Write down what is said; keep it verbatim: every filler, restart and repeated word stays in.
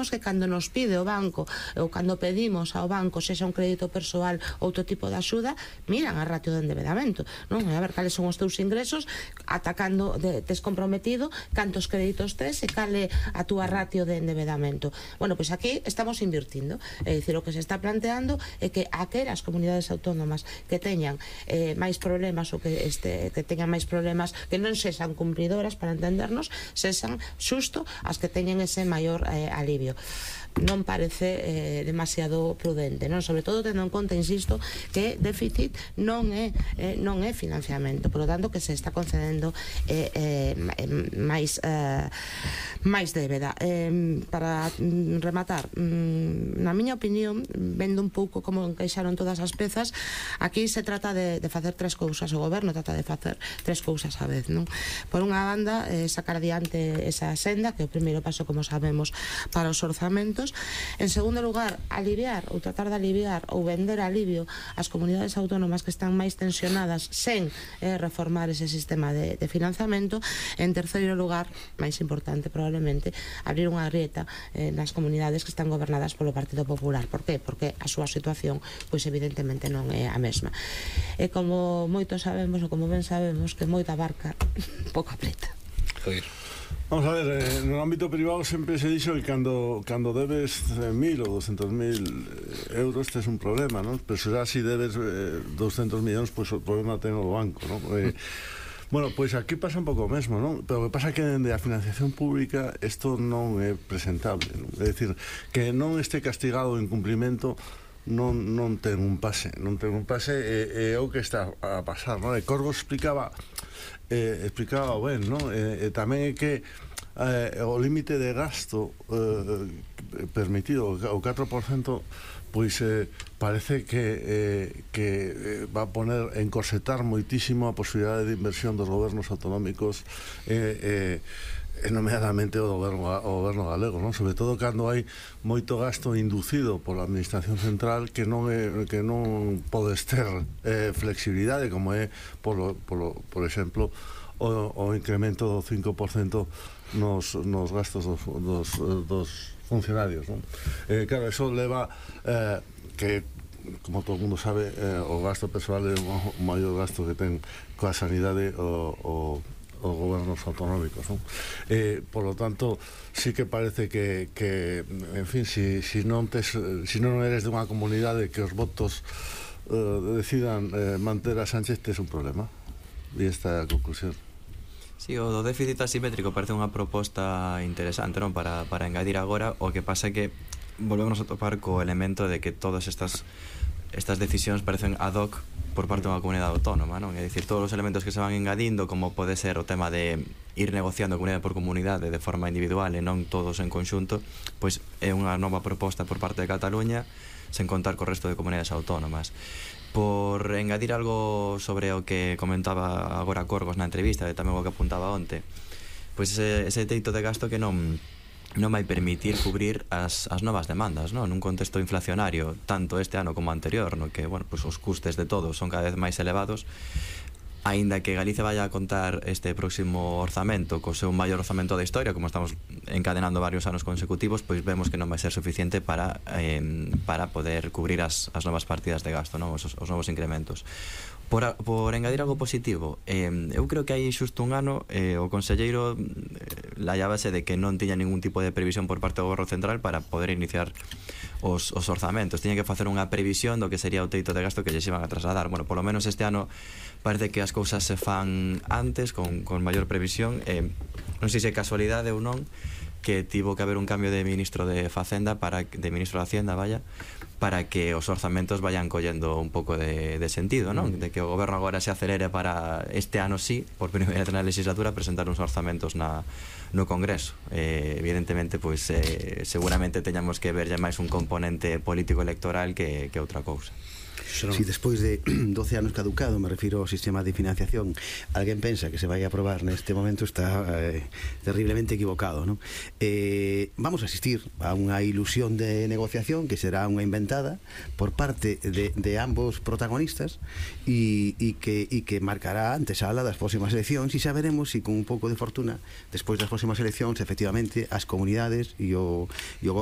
sabemos que cando nos pide o banco ou cando pedimos ao banco, sexa un crédito persoal ou outro tipo de axuda, miran a ratio de endebedamento, non? A ver cales son os teus ingresos, atacando de, tes comprometido cantos créditos tes e cale a túa ratio de endebedamento. Bueno, pois pues aquí estamos invirtindo, é dicir, o que se está planteando é que aquelas comunidades autónomas que teñan eh, máis problemas ou que, este, que teñan máis problemas que non sexan cumplidoras, para entendernos, sexan xusto as que teñen ese maior eh, alivio. Non parece eh, demasiado prudente, non? Sobre todo tendo en conta, insisto, que déficit non é eh, non é financiamento, por lo tanto que se está concedendo eh, eh, máis eh, máis débeda. Eh, para rematar, mm, na miña opinión, vendo un pouco como encaixaron todas as pezas, aquí se trata de, de facer tres cousas, o goberno trata de facer tres cousas á vez, non? Por unha banda, eh, sacar adiante esa senda, que é o primeiro paso, como sabemos, para os orzamentos. En segundo lugar, aliviar ou tratar de aliviar ou vender alivio ás comunidades autónomas que están máis tensionadas sen eh, reformar ese sistema de, de financiamento. En terceiro lugar, máis importante probablemente, abrir unha grieta eh, nas comunidades que están gobernadas polo Partido Popular. Por qué? Porque a súa situación, pois evidentemente non é a mesma. E como moitos sabemos, ou como ben sabemos, que moita barca pouca preta. Joder. Vamos a ver, eh, no ámbito privado sempre se dixo que cando, cando debes mil ou doscientos mil euros tes un problema, non? Pero se si debes eh, doscientos millóns, pois pues, o problema ten o banco, non? Eh, bueno, pois pues aquí pasa un pouco o mesmo, non? Pero o que pasa é que dende a financiación pública isto non é presentable, non? É dicir, que non este castigado o incumprimento non, non ten un pase, non ten un pase e, e o que está a pasar, non? E Corgo explicaba eh, explicaba ben, non? E, e tamén é que eh, o límite de gasto eh, permitido, o catro por cento, pois eh, parece que, eh, que eh, va a poner, encorsetar moitísimo a posibilidade de inversión dos gobernos autonómicos eh, eh, nomeadamente o goberno, o goberno galego, non? Sobre todo cando hai moito gasto inducido pola administración central que non é, que non podes ter eh, flexibilidade, como é polo, polo, por exemplo o, o incremento do cinco por cento nos, nos gastos dos, dos, dos funcionarios, non? Eh, claro, eso leva eh, que, como todo mundo sabe, eh, o gasto persoal é o maior gasto que ten coa sanidade o, o os gobernos autonómicos, non? Eh, por lo tanto, sí que parece que, que en fin, si, si non tes, si non eres de unha comunidade que os votos eh, decidan eh, manter a Sánchez, tes un problema. E esta é a conclusión. Sí, o do déficit asimétrico parece unha proposta interesante, non? Para, para engadir agora, o que pasa é que volvemos a topar co elemento de que todas estas estas decisións parecen ad hoc por parte dunha comunidade autónoma, non? É dicir, todos os elementos que se van engadindo, como pode ser o tema de ir negociando comunidade por comunidade de forma individual e non todos en conxunto, pois é unha nova proposta por parte de Cataluña sen contar co resto de comunidades autónomas. Por engadir algo sobre o que comentaba agora Corgos na entrevista e tamén o que apuntaba onte, pois ese, ese teito de gasto que non non vai permitir cubrir as, as novas demandas, non? Nun contexto inflacionario, tanto este ano como anterior, no que, bueno, pues os custes de todos son cada vez máis elevados. Aínda que Galicia vaya a contar este próximo orzamento co seu maior orzamento da historia, como estamos encadenando varios anos consecutivos, pois vemos que non vai ser suficiente para eh, para poder cubrir as, as novas partidas de gasto, non? Os, os novos incrementos. Por, a, por engadir algo positivo, eh, eu creo que hai xusto un ano eh, o conselleiro eh, laiábase de que non tiña ningún tipo de previsión por parte do Goberno Central para poder iniciar os, os orzamentos. Tiña que facer unha previsión do que sería o teito de gasto que lles iban a trasladar. Bueno, polo menos este ano parece que as cousas se fan antes, con, con maior previsión. Eh, non sei se é casualidade ou non que tivo que haber un cambio de ministro de Facenda para, de ministro de Hacienda, vaya, para que os orzamentos vayan collendo un pouco de, de sentido, non? De que o goberno agora se acelere para este ano sí, por primeira vez na legislatura, presentar uns orzamentos na, no Congreso. Eh, evidentemente, pois, eh, seguramente teñamos que ver ya máis un componente político electoral que, que outra cousa. Si despois de doce anos caducado, me refiro ao sistema de financiación, alguén pensa que se vai a aprobar neste momento, está eh, terriblemente equivocado, non? Eh, vamos a asistir a unha ilusión de negociación que será unha inventada por parte de, de ambos protagonistas e, e, que, e que marcará a antesala das próximas eleccións, e xa veremos se con un pouco de fortuna despois das próximas eleccións efectivamente as comunidades e o, e o goberno